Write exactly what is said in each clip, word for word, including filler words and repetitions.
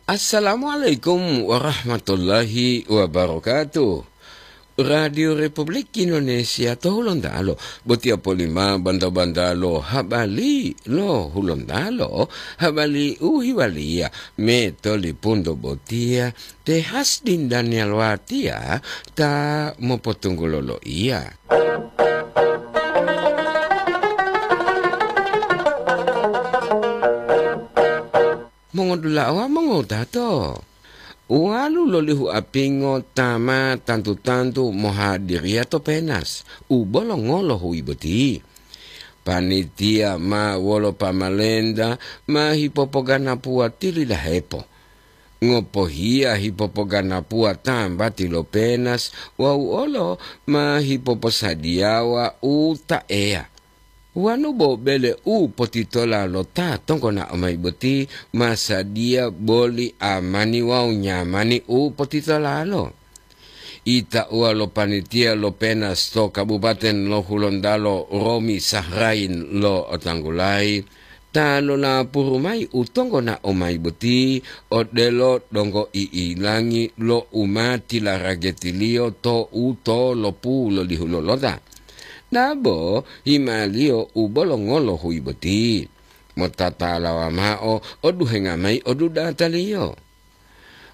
Assalamualaikum warahmatullahi wabarakatuh. Radio Republik Indonesia to Hulontalo, botiya polima banta-banta lo habari lo Hulontalo, habari u hiwaliya me tolipunto botiya te Hasdin Daniel Watiya ta mopotunggulo loiya. Mongodula'a wawu mongowutato, uwalu lolihu apingo ta ma tantu-tantu mohadiriya to penas u bolongo lo huyi boti. Panitiya ma wolo pamalenta ma hipopoganapuwa tilidahepo. Ngopohiya hipopoganapuwa tambati lo penas wawu olo ma hipoposadiyawa u ta eya. Wanu bo bele u potitola lo ta tonggonao mayi boti ma sadiya boli amani wawu nyamani u potitolalo. Itauwa lo panitiya lo penas to Kabupaten lo Hulontalo Romi Sahrain lo otanggulayi, ta lolapuru mayi u tonggonao mayi boti odelo donggo i'ilangi lo u ma tilaragetiliyo to u to lopu lolihu lolota. Dabo himaliyo u bolongo lo huyi boti, motatalawa mao oduhenga mayi odudataliyo.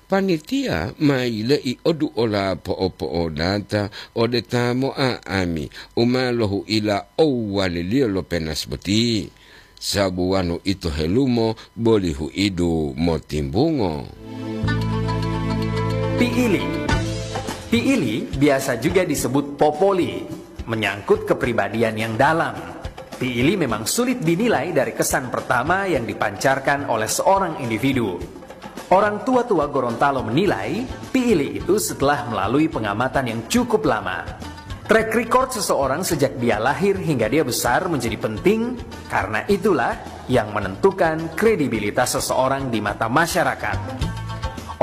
Panitiya ma yile'i oduola po'opo'odata ode ta mo'a'ami u ma lohu'ila owwaliliyo lo penas boti, sabu wanu ito helumo boli hu'idu motimbungo. Piili. Piili biasa juga disebut popoli, menyangkut kepribadian yang dalam. Piili memang sulit dinilai dari kesan pertama yang dipancarkan oleh seorang individu. Orang tua-tua Gorontalo menilai, piili itu setelah melalui pengamatan yang cukup lama. Track record seseorang sejak dia lahir hingga dia besar menjadi penting, karena itulah yang menentukan kredibilitas seseorang di mata masyarakat.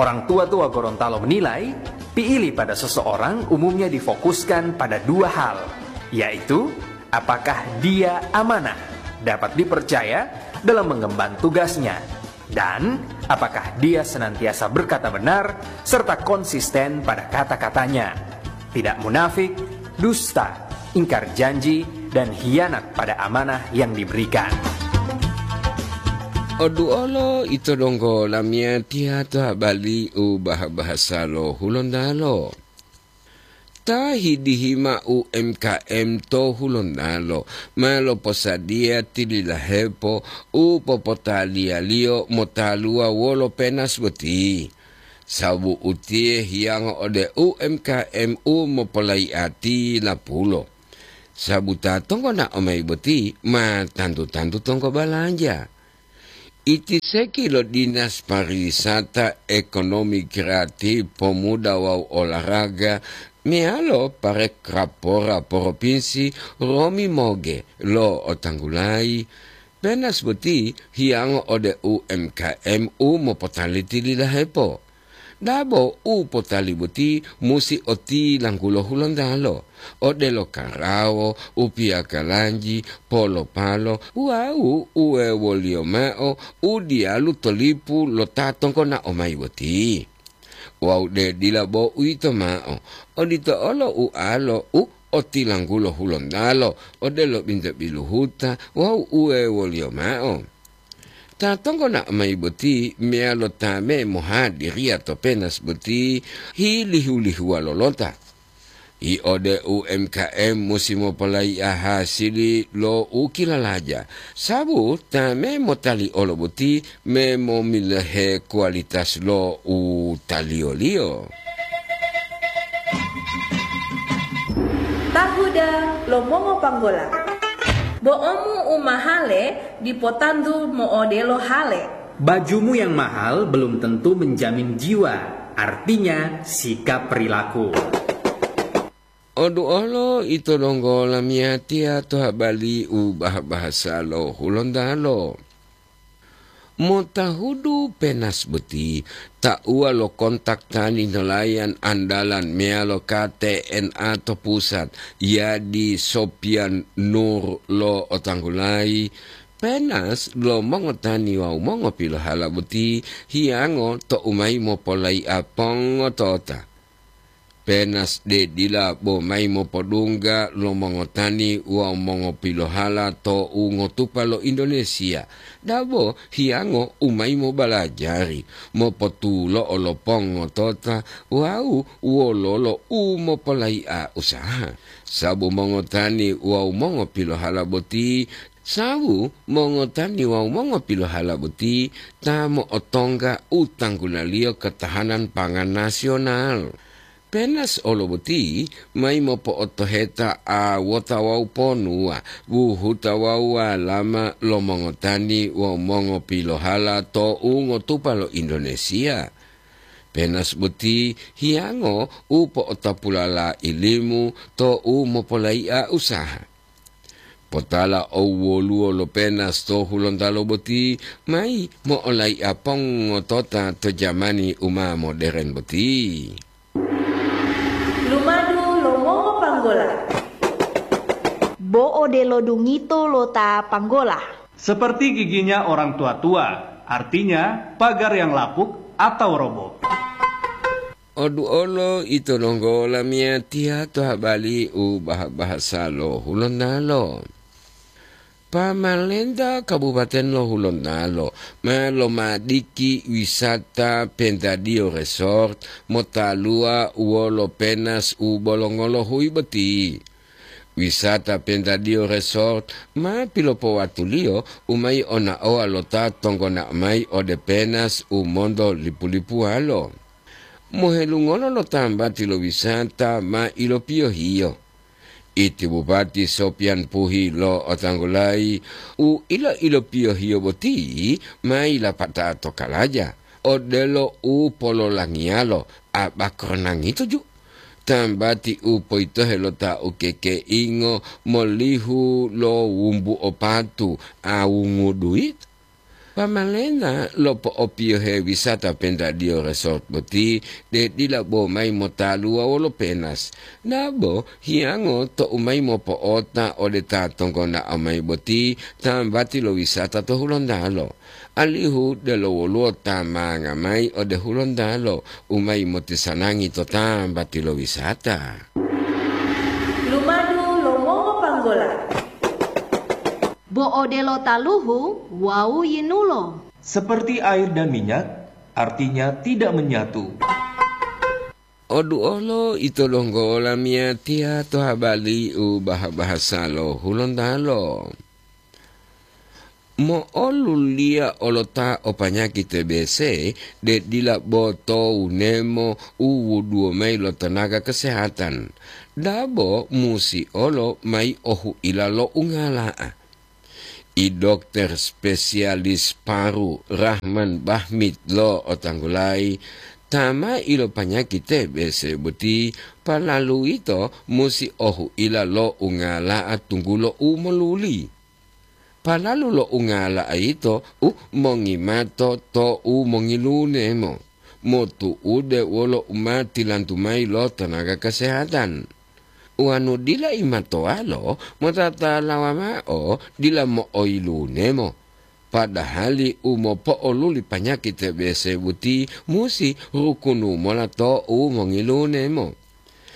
Orang tua-tua Gorontalo menilai, piili pada seseorang umumnya difokuskan pada dua hal, yaitu apakah dia amanah, dapat dipercaya dalam mengemban tugasnya, dan apakah dia senantiasa berkata benar serta konsisten pada kata-katanya, tidak munafik, dusta, ingkar janji, dan hianat pada amanah yang diberikan. Oduolo ito donggo lamiyatiya to habari u bah-bahasa lo Hulontalo. Ta hidihi mao U M K M to Hulontalo ma loposadiya tililahepo u popotaliyaliyo motaluwa wolo penas boti, sababu utiye hiyango ode U M K M u mopolayi'ati lapulo. Sababu ta tonggonao mayi boti ma tantu-tantu tonggo balanja. Iti seki lo Dinas Pariwisata, Ekonomi Kreatif, Pemuda wawu Olahraga meyalo Parekrapora Propinsi Romi Moge lo otanggulayi, penas boti hiyango ode U M K M u mopotaliti lilahepo. Dabo u potali boti musi otilanggulo Hulontalo, odelo karawo, u piyakalanji, polopalo, wawu uwewoliyo mao u diyalu to lipu lo ta tonggonao mayi boti. Wawu de dila bo uwito mao, odito olo ualo u otilanggulo Hulontalo, odelo binto biluhuta wawu uwewoliyo mao. Ta tonggonao mayi boti meyalo ta me mohadiriya to penas boti hilihu-lihuwa lolota. Yi ode U M K M musi mopolayi'a hasili lo u kilalaja, sabu ta me motali olo boti me momilohe kualitas lo u taliyoliyo. Tahuda lo mongopanggola. Bo'omu u mahale dipo tantu mo'odelo hale. Bajumu yang mahal belum tentu menjamin jiwa, artinya sikap perilaku. Oduolo ito donggo lamiyatiya to habari u bah-bahasa lo Hulontalo. Motahudu penas boti, tauwa lo kontak tani nelayan andalan meyalo K T N A to pusat, Yadi Sopian Nur lo otanggulayi, Penas lo mongotani wawu mongopilohala boti hiyango to'u mayi mopolai'a pongotota. Penas de dila bo mayi mopodungga lo mongotani wawu mongopilohala to'u ngotupa lo Indonesia, dabo hiyango u mayi mobalajari, mopotulo'o lo pongotota wawu wololo u mopolai'a usaha. Sabu mongotani wawu mongopilohala boti Sawu mongotani wawu mongopilohala boti ta mo'otongga u tanggunaliyo ketahanan pangan nasional. Penas olo boti mayi mopo'otoheta awota wawu ponuwa, buhuta wawu walama lo mongotani wawu mongopilohala to'u ngotupa lo Indonesia. Penas boti hiyango u po'otapulala ilimu to'u mopolai'a usaha. Potala owoluwo lo Penas to Hulontalo boti mayi mo'olai'a pongotota to jamani u ma moderen boti. Lumadu lo mongopanggola. Bo odelo dungito lo ta panggola. Seperti giginya orang tua-tua, artinya pagar yang lapuk atau roboh. Oduolo ito donggo lamiyatiya to habali u baha-bahasa lo Hulontalo. Pamalenta Kabupaten lo Hulontalo ma lomadiki wisata Pentadio Resort motaluwa wolo Penas u bolongolo huyi boti. Wisata Pentadio Resort ma pilopowatuliyo u mayi onaowa lo ta tonggona mayi ode Penas u monto lipu-lipuwalo. Mohelungolo lo tambati lo wisata ma ilopiyohiyo. Iti Bupati Sopian Puhi lo'otanggulayi u ilo-ilopiyohiyo boti ma yilapata to kalaja, odelo u pololangiyalo abakoronangi tuju. Tambati u poyitohe lo ta ukekeingo molihu lo wumbu opatu awungu duit. Pamalena lopo'opiyohe wisata Pentadio Resort boti de dila bo mayi motaluwa wolo Penas, dabo hiyango to'u mayi mopo'ota ode ta tonggona mayi boti tambati lo wisata to Hulontalo, alihu delo woluwo ta manga mayi ode Hulontalo u mayi motisanangi to tambati lo wisata. Lumadu lo mongopanggola. Bo odelo taluhu wawu yinulo. Seperti air dan minyak, artinya tidak menyatu. Oduolo ito donggo lamiyatiya to habali u baha-bahasa lo Hulontalo. Mo'oluliya olota o panyaki T B C de dila bo to wunemo u wuduwo mayi lo tenaga kesehatan, dabo musi olo mayi ohuila lo ungala'a. I dokter spesialis paru Rahman Bahmid lo'o tanggulayi, ta ma ilopanyaki T B C boti palalu ito musi ohuila lo ungala'a tunggulo u moluli. Palalu lo ungala'a yito u mongimato to u mongilunemo, motu'ude wolo u ma tilantu mayi lo tenaga kesehatan. Wonu dila imatoalo, motatalawa mao dila mo'oyilunemo, padahali u mopo'oluli panyaki T B C boti musi rukunu mola to u mongilunemo.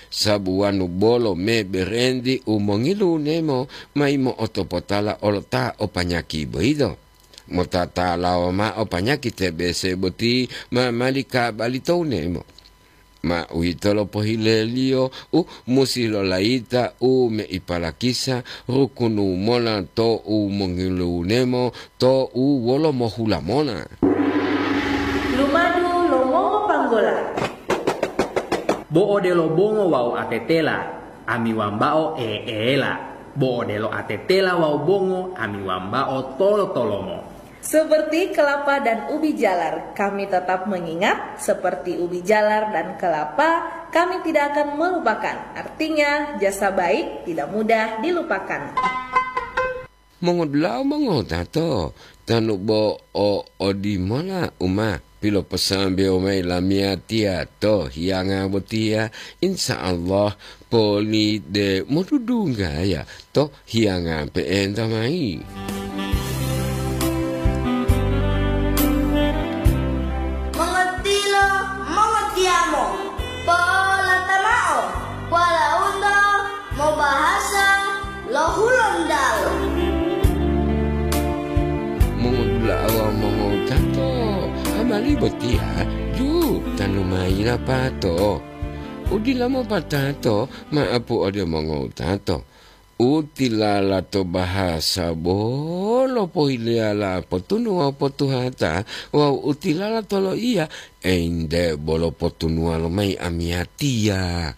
Sabu wonu bolo me berenti u mongilunemo mayi mo'otopotala olo ta o panyaki boyito. Motatalawa mao panyaki T B C boti ma mali kabali to wunemo. Ma uwitolo pohileliyo u musi lolayita u meipalakisa rukunu mola to u mongilunemo to u wolo mohula mola. Lumadu lo mongopanggola. Bo odelo bongo wawu atetela, ami wambao eela. Bo odelo atetela wawu bongo, ami wambao tolo-tolomo. Seperti kelapa dan ubi jalar, kami tetap mengingat, seperti ubi jalar dan kelapa, kami tidak akan melupakan. Artinya, jasa baik tidak mudah dilupakan. Mongodula'a mongotato, tanu bo o odimola u ma piloposambewo mayi lamiyatiya to hiyanga botiya, insya Allah poli de modudunggaya to hiyanga pe'enta mayi. Bali botiya ju tanu mayi lapato. Udila mopatato ma'apu ode mongowutato. Utilala to bahasa bolo pohileyala potunu wawu potuhata, wawu utilala to loiya, ente bolo potunuwa lomayi amiyatiya.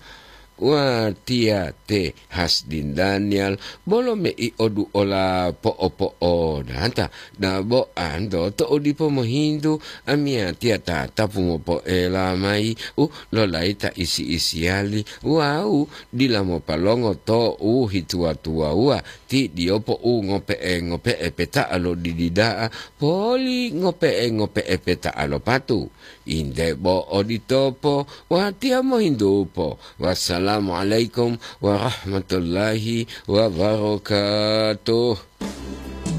Watiya te Hasdin Daniel bolo mei oduola po'opo'odata, dabo anto to'u dipo mohintu, amiyatiya tatapu mopoela mayi u lolayi ta isi-isiyali wawu dila mopalongo to'u hituwa-tuwawuwa, ti diyopo u ngope'e-ngope'e peta'a lo didi da'a, poli ngope'e-ngope'e peta'a lo patu. Inde bo oditopo, watiya mohintupo. Wassalamualaikum warahmatullahi wabarakatuh.